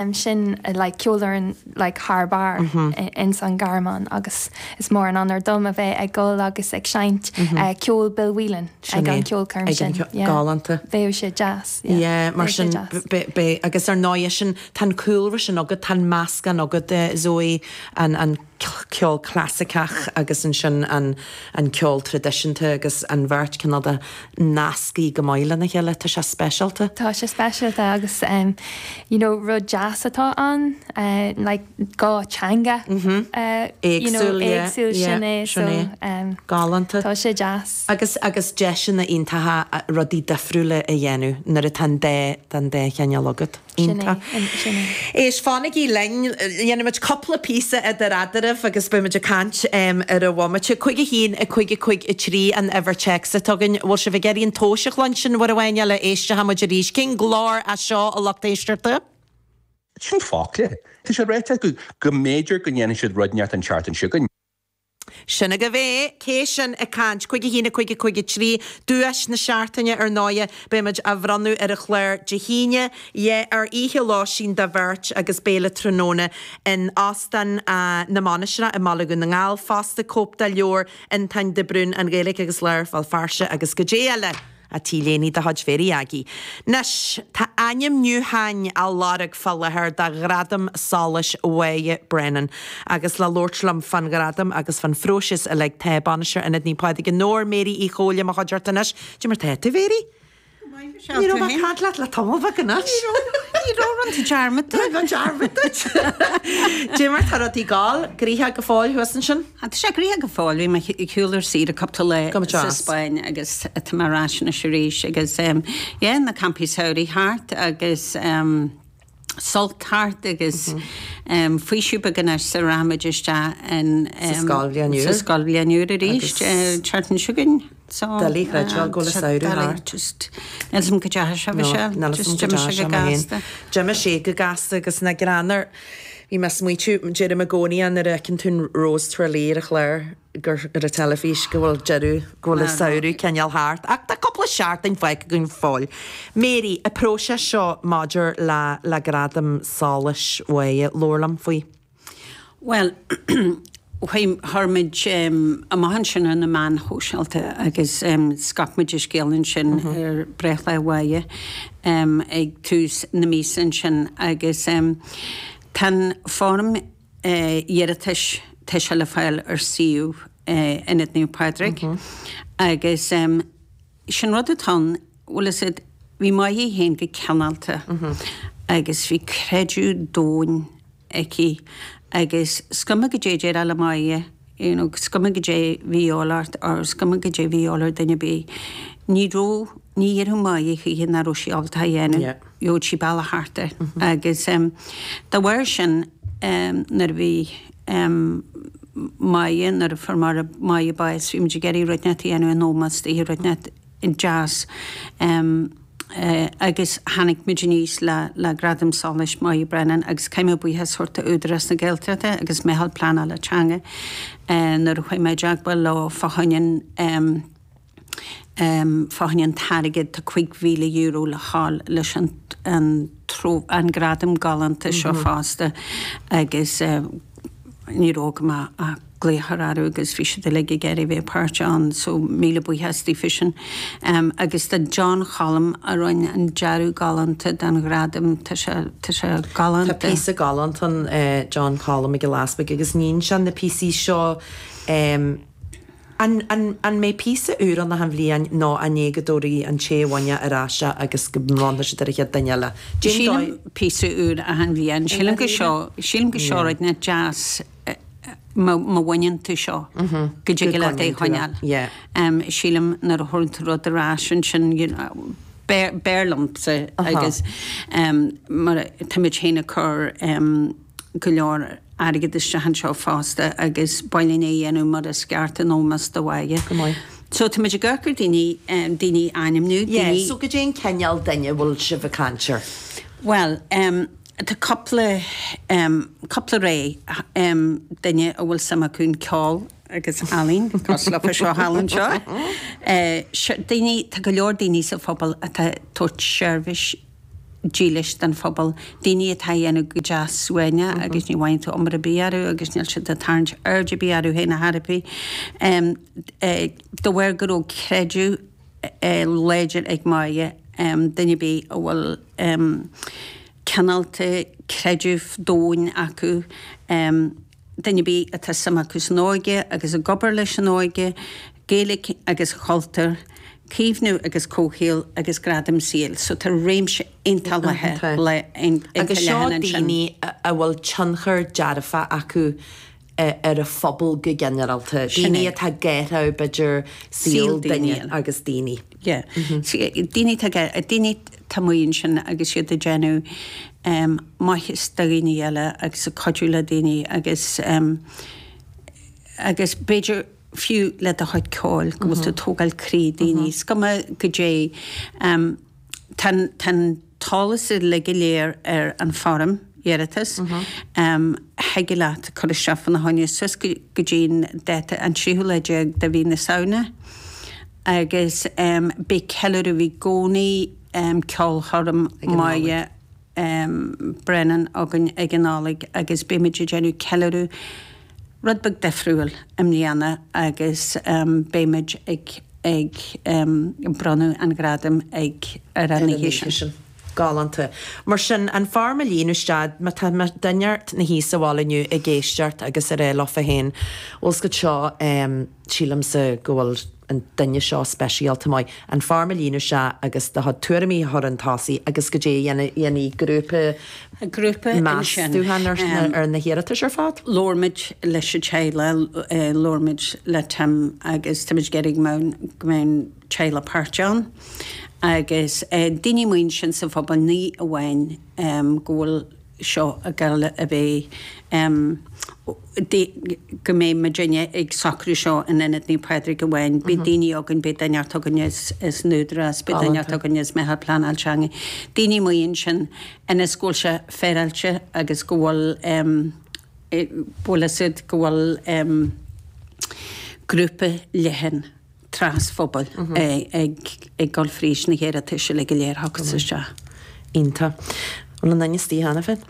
Sin like ceolfhoireann like thar barr ins an Garmán agus is mór an onóir dom a bheith ag dul agus ag seinnt ceol Bill Whelan ag an ceolchoirm sin. Galánta. Bheadh sé deas. Yeah, mar sin beidh agus ar ndóigh sin tá an cúlra sin agat, tá an meascán agat Zoe, an an ceol clasaiceach agus ansin an an ceol traidisiúnta agus an bheirt cineál de nasctha go maith lena chéile. Tá sé speisialta. Tá sé speisialta agus you know rud deas atá ann like gá teanga you know éagsúil sin é so Galánta. Tá sé deas. Agus agus deiseanna iontacha rudaí difriúla a dhéanamh nuair atá an dá an dá chineál agat. Iontach. Sin é. Éist, fanaigí linn, déanfaimid cúpla píosa idir eadraibh agus beimid ag caint ar an bhomaite. 5 1 5 5 3 an uimhir téacs atá againn. Bhfuil sibh ag iarraidh an tomhais a chluinstin uair amháin eile? Éistfimid arís. Cén glór é seo, a lucht éisteachta? Sin focla. Tá sé ráite acu go mb'fhéidir go ndéanfaidh siad rud inteacht an tseachtain seo chugainn. Sin agaibh é. Cé sin ag caint? 5 1 5 5 3, Duais na seachtaine, ar ndóighe, beimid á bhronnadh ar an chlár Dé hAoine, yeah, ar oíche lóistín do bheirt agus béile tráthnóna in Óstán na Mainistreach i mBaile Dhún na nGall fosta, cóip de leabhar Fhionntáin de Brún, An Ghaeilge agus Lár Bhéal Feirste agus goidé eile. A T-léine de chuid Mhéirí Aggie. Anois, tá ainmniúcháin á lorg fá láthair do Ghradam Solais Mháire Brennan. Agus le labhairt liom fán ghradam agus fán phróiseas uilig tá Bainisteoir Ionad Naomh Pádraig i nDobhar, Mary Uí Chomhaile, i mo chuideachta anois. Cad é mar tá tú, Mary? Go maith, Michelle. Ní raibh mé ag caint leat le tamall beag anois. Ní raibh, ní raibh, rinne tú dearmad de. Rinne mé dearmad duit. Cad é mar tá rudaí ag gabháil, gnoitheach go fóill thuas ansin? Tá sé gnoitheach go fóill. Bhí mé ar shiúl ar saoire cúpla lá Go sa deas. Spáinn agus tá mé ar ais anois arís agus yeah, na campaí samhraidh thart agus sult thart agus faoiseamh beag anois sara rachaimid isteach in Sa scoilbhliain úr. sa scoilbhliain úr arís Agus an tseachtain seo chugainn. So Doiligh a chreidbheáil go bhfuil an samhradh thart. Just níl 's a'm go deachaigh sé No, Michelle. níl 's Just a'm go d'imigh sé deachaigh sé go mé féin. gasta. D'imigh sé go gasta agus nach greannmhar. Bhí mé ag smaoitiú, deirim i gcónaí é nuair a fheiceann tú an Rose Tralee ar an chlár gur ar an teilifís go bhfuil deireadh, go bhfuil an samhradh cineál thart. Ach tá cúpla seachtain fágtha againn go fóill. Mary, an próiseas seo maidir le le Gradam Solais Mháire, labhair liom faoi. Bhuel, chuir muid amach ansin ar na meáin shóisialta agus scaip muid an scéal ansin ar breithlá Mháire ag tús na míosa ansin agus tá an foirm iarratais, tá sé le fáil ar suíomh Ionad Naomh Pádraig agus sin rud atá ann, bhfuil a fhios agat, bhí Máire í féin go cineálta agus bhí creideamh domhain aici agus is cuma goidé a déarfá le Máire, you know, is cuma goidé bhí de dhíobháil ort or is cuma goidé bhí de dhíobháil ar duine ar bith, ní raibh, ní dhéarfadh Máire choíche nach raibh sí ábalta a dhéanamh, Yeah. gheobhadh sí bealach thart air. Agus dá bharr sin nuair a bhí Máire, nuair a fuair Máire, Máire bás, bhí muid ag iarraidh rud inteacht a dhéanamh in ómós di, rud inteacht deas agus tháinig muid aníos le le Gradam Solais Máire Brennan agus caithfidh mé buíochas a thabhairt do Údarás na Gaeltachta agus Meitheal Pleanála Teanga nuair a chuaigh mé i dteagmháil leo fá choinne an fá choinne an t-airgead, tá €5,000 le fáil leis an an an gradam galánta seo fosta agus ní raibh agam ach glaoch a chur orthu agus bhí siad uilig ag iarraidh bheith páirteach ann so míle buíochas daofa sin. Agus do John Cholm a rinne an dearadh galánta don ghradam, tá sé, tá sé galánta. Tá píosa galánta ann John Cholm Mac Giolla Easpaig agus níonn sé na píosaí seo An, an, an mbeidh píosa úr ann achan bhliain nó an é go dtabharfaidh an té a bhain é ar ais é agus go mbronnfaidh siad ar an chéad duine eile? Cén Sílim dóigh? píosa úr achan bhliain. Sílim go seo, sílim go seo rud inteacht deas má, má bhaineann tú seo go dtig leat é a choinneáil. Yeah. Sílim nuair a thabharann tú rud ar ais ansin, you know, b'fhearr liomsa agus mar táimid féin ag cur go leor airgead isteach anseo fosta agus ba mhaith linn é a dhéanamh mar is ceart in ómós do Mháire. Go maith. So tá muid ag amharc ar daoine, daoine a ainmniú, Yeah, daoine. so goidé an cineál duine a bhfuil sibh ag caint air? Bhuel, tá cúpla, cúpla rogha, duine a bhfuil suim acu in ceol agus ealaín, cosúil leofa seo thall anseo. Daoine, tá go leor daoine sa phobal atá ag tabhairt seirbhís. dílis don phobal, daoine atá ag déanamh go deas suaimhneach agus ní bhfaigheann tú iomaire ar bith orthu agus níl siad ag tarraingt aird ar bith orthu féin ar chor ar bith. De bharr go raibh creideamh láidir ag Máire, duine ar bith a bhfuil cineálta creideamh domhain acu, duine ar bith atá suim acu san óige agus ag obair leis an óige, Gaeilge agus cultúr, caomhnú agus comhshaol agus gradaim saoil. So tá réimse iontach leathan Agus seo ansin. daoine a bhfuil tionchar dearfach acu ar an phobal go ginearálta, daoine atá ag athrú b'fhéidir saol duine agus daoine. Yeah. Daoine atá daoine atá amuigh ansin agus iad ag déanamh maitheas do dhaoine eile agus ag cuidiú le daoine agus agus b'fhéidir fiú le do chuid ceoil go bhfuil tú ag tógáil croí daoine. Is cuma goidé. Tá an t-eolas uilig go léir ar an foirm iarratais. Thig leat cur isteach fána choinne suas go dtí an dáta an tríú lá déag de mhí na Samhna agus beidh ceiliúradh i gcónaí ceolchoirm Máire Brennan againn ag an Nollaig agus beimid ag déanamh ceiliúradh rud beag difriúil i mbliana agus beimid ag ag bronnadh an ghradaim ag ar an oíche sin. Galánta. Mar sin, an foirm a líonadh isteach, má tá duine inteacht ina shuí sa bhaile inniu ag éisteacht agus ag rá leofa féin, bhfuil 's agat seo, sílimse go bhfuil an duine seo speisialta maith, an foirm a líonadh isteach agus do chuid tuairimí a chur chun tosaigh agus goidé a dhéanfaidh grúpa Grúpa ansin. meastúchán ar na hiarratais ar fad. Labhair muid leis an teaghlach, labhair muid le Tim agus táimid ag iarraidh go mbeadh go mbeadh an teaghlach páirteach ann agus daoine amuigh ansin sa phobal ní amháin go bhfuil seo ag gabháil a bheith go mbeidh muidinne ag socrú seo in Ionad Naomh Pádraig amháin. Beidh daoine againn, beidh duine inteacht againn as an Údarás, beidh duine inteacht againn as Meitheal Pleanáil Teanga, daoine amuigh ansin ionas go bhfuil sé féaráilte agus go bhfuil bhfuil fhios agat go bhfuil grúpa leathan trasphobail ag dul fríd na hiarratais uilig go léir a thiocfas isteach. Iontach. An bhfuil aon duine istigh cheana féin?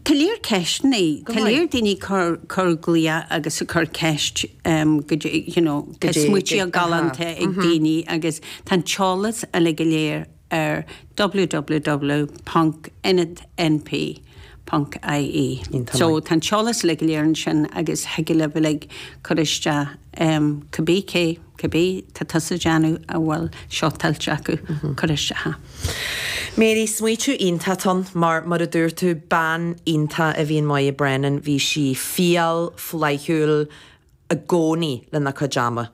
Tá léir ceisteanna, tá léir daoine ag cur glaoch agus ag cur ceist go dtí, you know, tá smaointe galánta ag daoine agus tá an t-eolas uilig go léir ar www.ionadnp.ie. So tá an t-eolas uilig go léir ansin agus thig libh uilig cur isteach cibé cé, cibé tá tusa ag déanamh a bhfuil seo tuillte acu, cuir isteach é. Mary, smaoitiú iontach ann mar, mar a dúirt tú, bean iontach a bhí in Moya Brennan, bhí sí fial, flaithiúil, i gcónaí lena cuid ama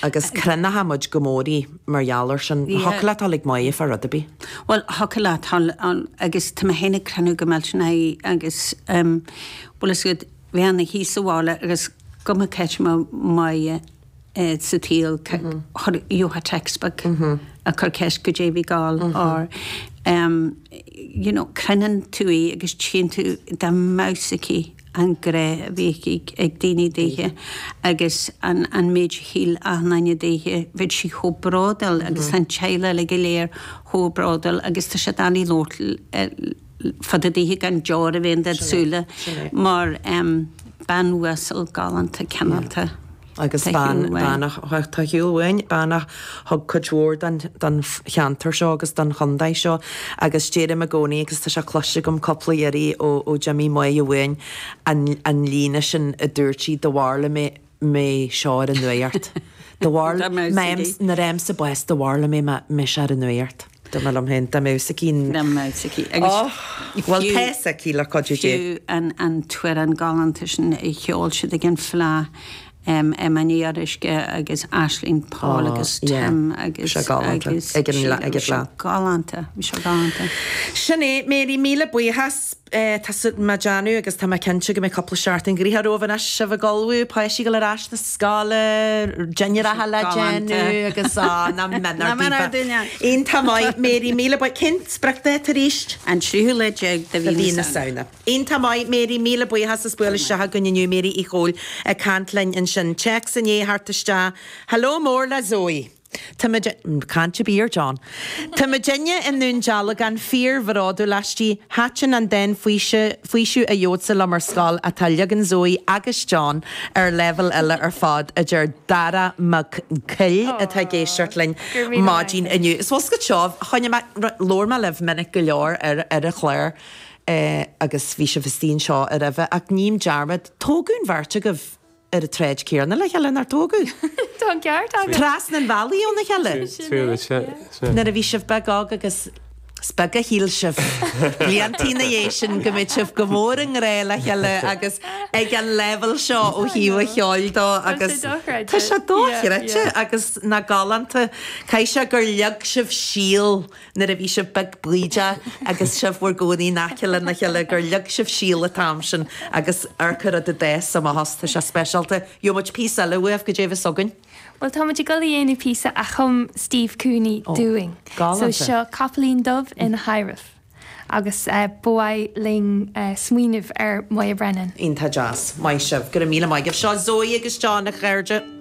agus croinneoidh muid go mór í mar gheall air sin. Thiocfadh leat dul ag Moya fá rud ar bith. Bhuel, thiocfadh leat dul ann agus tá mé féin ag crinneadh go millteanach í agus bhfuil fhios agat, bheinn ina shuí sa bhaile agus go mba cá háit a mbeadh Moya sa tsaol, gheofá text beag ag cur ceist goidé a bhí ag gabháil or you know, croinneann tú í agus tchíonn tú dá mbeadh fhios aici. an grá a bhí aici ag daoine daoithe agus an an méid a shíl achan duine daoithe, bheadh sí chomh bródúil agus tá an teaghlach uilig go léir chomh bródúil agus tá sé doiligh labhairt fá dtaobh daoithe gan deor a bheith in dod súile mar bean uasal galánta cineálta. Agus bean, bean a, tá a shiúl uainn, bean a thug cuid mhór don, don cheantar seo agus don chontae seo agus deirim i gcónaí agus tá sé cloiste agam cúpla iarraidh ó, ó d'imigh Moya uainn, an, an líne sin a dúirt sí, dá bhfearr liom mé seo ar an nuacht. Dá bhfearr, nuair a fhaighimse bás, dá bhfearr liom é mé seo ar an nuacht. Dá mba liom féin, dá mbeadh 's aici. Dá mbeadh 's aici. Agus Bhuel, tá 's aici le cuidiú Dé. Fiú an t-amhrán galánta sin a cheol siad ag an Fleadh, Emma Ní Fhíoruisce agus Aisling Paul agus Tim agus Bhí sé galánta. Ag an Bhí sé galánta. Bhí sé galánta. Sin é, Mary, míle buíochas. Tá mé ag déanamh agus tá mé cinnte go mbeidh cúpla seachtain gnoitheach romhaibh anois, sibh ag ullmhú, páistí ag dul ar ais na scoile, dinnéaracha le déanamh agus á, nach mbeadh duine. Iontach maith, Mary, míle buíochas. Cén spriocdháta arís? An tríú lá déag de mhí na Samhna. Iontach maith, Mary, míle buíochas as bualadh isteach againn inniu, Mary Uí Chomhaill ag caint linn ansin. Téacs i ndiaidh theacht isteach. Hello mór le Zoe. Tá muid, caint ar bith ar John. Tá muidinne i nDún Dealgán fíor-bhródúil aisti. Thaitin an dán Faoiseamh a Gheobhadsa liom ar scoil atá leagan Zoe agus John ar leibhéal eile ar fad, a deir Dara Mac Coill atá ag éisteacht linn maidin inniu. Is bhfuil seo, choinnigh mé, labhair mé libh minic go leor ar ar an chlár agus bhí sibh istigh anseo roimhe ach ním dearmad, tógadh an bheirt agaibh ar an tsráid céanna le chéile, nár tógadh? Tá an ceart agat. Trasna an bhealaigh óna chéile. Nuair a bhí sibh beag óg agus is beag a shíl sibh bliantaí ina dhiaidh sin go mbeadh sibh go mór i ngrá le chéile agus ag an leibhéal seo ó thaobh an cheoil dó agus tá sé dochreidte agus nach galánta. Caithfidh sé gur leag sibh síol nuair a bhí sibh beag baoideach agus sibh bhur gcónaí in aice lena chéile, gur leag sibh síol an t-am sin agus amharc an rud a d'fhás amach as, tá sé speisialta. Gheobhaidh muid píosa eile uaibh, goidé a bheas againn? Bhuel, tá muid ag dul a dhéanamh píosa a chum Steve Cooney dúinn. Galánta. So seo Capaillín Dubh ina Thaidhreamh agus ba mhaith linn smaoineamh ar Moya Brennan. Iontach deas. Maith sibh. Go raibh míle maith agaibh. Seo Zoe agus John, a chairde.